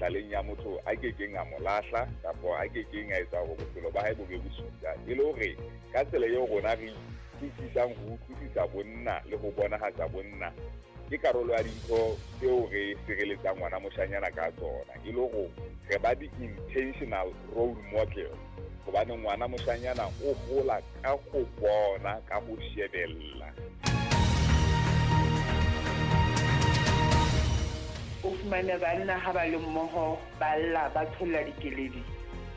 mehlaleng ya motho a kekeng a mo lahla kapa a kekeng a etsa hore bophelo ba hae bo be bosula. E le hore ka tsela eo rona re utlwisisang ho utlwisisa bonna le ho bonahatsa bonna ke karolo ya dintho tseo re sireletsang ngwana moshanyana ka tsona. E le hore re ba di-intentional role model hobane ngwana moshanyana o hola ka ho bona, ka ho shebella. O fumane banna ha ba le mmoho ba lla ba tsholla dikeledi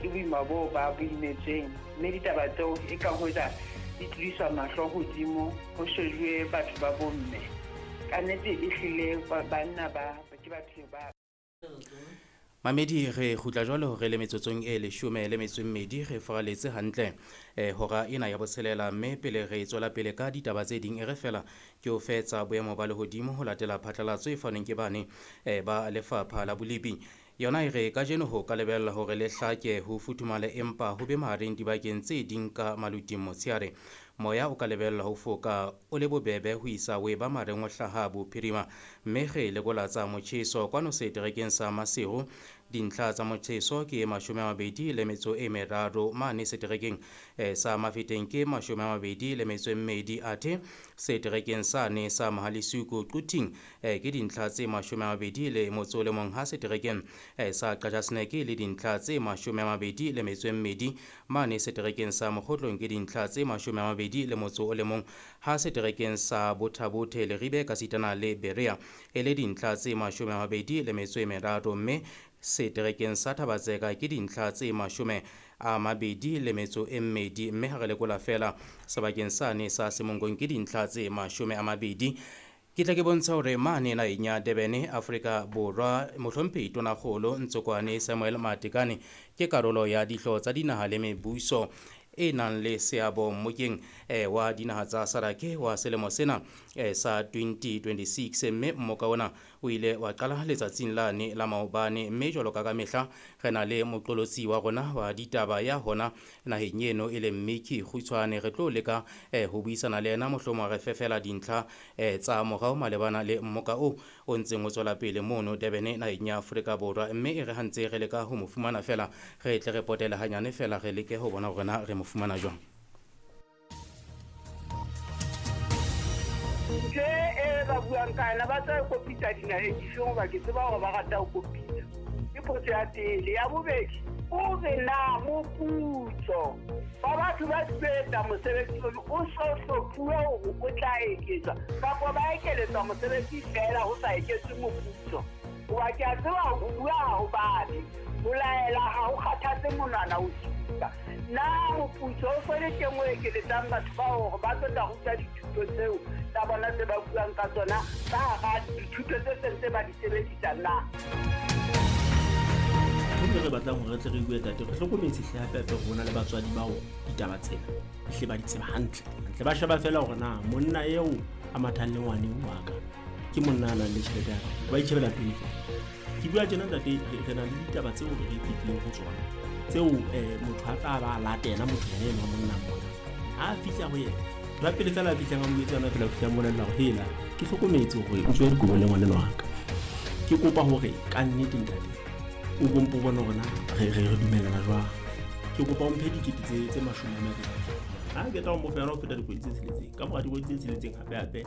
ke boima boo ba bo imetsweng, mme ditaba tseo e ka hoja di tlodiswa mahlo hodimo ho shejuwe batho ba bomme. Ka nnete ehlile banna ba ke batho ba. Mamedi re kgutla jwalo re le metsotsong e 12 re faraletse hantle hora ena ya botshelela, mme pele re tswela pele ka ditaba tse ding e re fela ke o fetsa boemo ba lehodimo ho latela phatlalatso e fanweng ke bane ba lefapha la bolipi. Yona e re kajeno ho ka lebella hore le hlake ho futhumale empa ho be mahareng dibakeng tse ding ka maluting motshehare. Moya o ka lebella ho foka o le bobebe ho isa o eba mareng o hlaha bophirima, mme re lekola tsa motjheso kwano seterekeng sa Maseru. Dintlha tsa motjheso ke 23 mane seterekeng sa Mafeteng ke 22 athe seterekeng sane sa Mahalisuku Quthing ke dintlha tse 21 ha seterekeng sa Qachaseneke le dintlha tse 22 mane seterekeng sa Mokgotlong ke dintlha tse 21 ha seterekeng sa Bothabothe Leribe ka sitana le Berea e le dintlha tse 23, mme seterekeng sa Thabatseka ke dintlha tse 22, mme ha re lekola fela sebakeng sane sa Semongkong ke dintlha tse 20. Ke tla ke bontsha hore mane naheng ya Durban, Afrika Borwa, mohlomphehi Tonakgolo Ntsokwane Samuel Matekane ke karolo ya dihlooho tsa dinaha le mebuso e nang le seabo mmokeng wa dinaha tsa SADC wa selemo sena sa 2026, mme mmoka ona o ile wa qala letsatsing lane la maobane. Mme jwalo ka mehla re na le moqolotsi wa rona wa ditaba ya hona naheng eno e leng Miki Kgutshwane. Re tlo leka ho buisana le yena mohlomong re fefela dintlha tsa morao malebana le mmoka o o ntseng o tswela pele mono Durban naheng ya Afrika Borwa, mme e re ha ntse re leka ho mo fumana fela re tle re potele hanyane fela re leke ho bona hore na re mo fumana jwang. Ntho e ba buang ka yona ba tla kopitsa dinaheng difeng hoba ke tseba hore ba rata ho kopitsa. Ke potso ya pele. Ya bobedi, o re na moputso ba batho ba sebetsa mosebetsi ono o so hlophuwe hore o tla eketswa kapa ba ekeletswa mosebetsi feela ho sa eketswe moputso. Hoba ke a tseba ho bua ha ho babe, ho laela ha ho kgathatse monwana o supa. Na moputso o so le teng o ekeletsang batho bao hore ba tlo tla ruta dithuto tseo tsa bona tse ba buang ka tsona ka hara dithuto tse seng tse ba di sebedisang na? Ntho re batlang hore re tle re bue tate, re hlokometse hle hape hape rona le batswadi bao ditaba tsena hle ba di tseba hantle. Hantle ba sheba fela hore na monna eo a mathang le ngwane wa ka ke monna a nang le tjhelete ya kae, ba itjhebela pele fela. Ke bua tjena ntate, re na le ditaba tseo re fetileng ho tsona tseo motho a tla ba latela motho yena enwa monna mona. Ha a fihla ho yena, ba pele fela a fihlang a mo etsa yona fela, o fihla a mmolella hore hela ke hlokometse hore o tswe dikobo le ngwaneno wa ka. Ke kopa hore ka nnete ntate o bompo bone hore na re dumellana jwang. Ke kopa o mphe dikete tse 20. Ha ke tla o mo fa yona ho feta dikgwedi tse 6. Ka mora dikgwedi tse 6 hape hape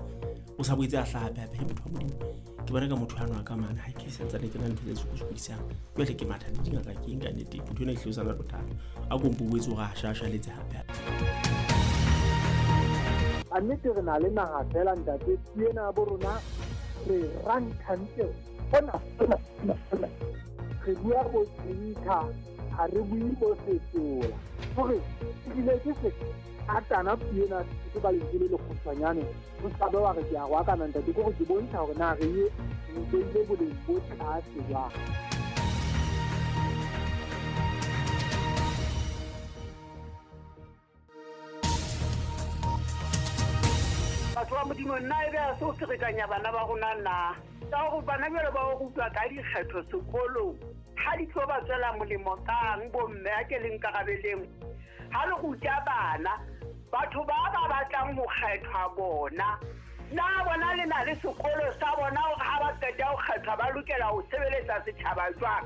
o sa boetse a hlaha hape hape. Motho wa Modimo, ke bona ka motho ano a ka mane ha ke santsane ke na ntho tse sokodisang. Jwale ke matha le dingaka ke eng ka nnete, ntho ena e hlile o sa na bothata. A kompo boetse hore a shashaletse hape hape. A nnete re na le naha fela ntate, ena bo rona re ranthantle hona hona hona. Re bua bo tsinka, ha re bue bo setola. Hore ebile ke se atana puo ena ke ba lentswe le lekgutshwanyane, o ska be wa re ke a roakana ntate, ke hore ke bontsha hore na re ye re beile boleng bo tlase jwang. Batho ba Modimo, nna ebe ha se o ferekanya bana ba rona na? Ka hore bana jwale ba o rutwa ka dikgetho sekolong, ha di tlo ba tswela molemo kang bomme a ke le nkarabeleng? Ha le ruta bana, batho ba ba batlang ho kgethwa bona, na bona le na le sekolo sa bona hore ha ba qeta ho kgethwa ba lokela ho sebeletsa setjhaba jwang?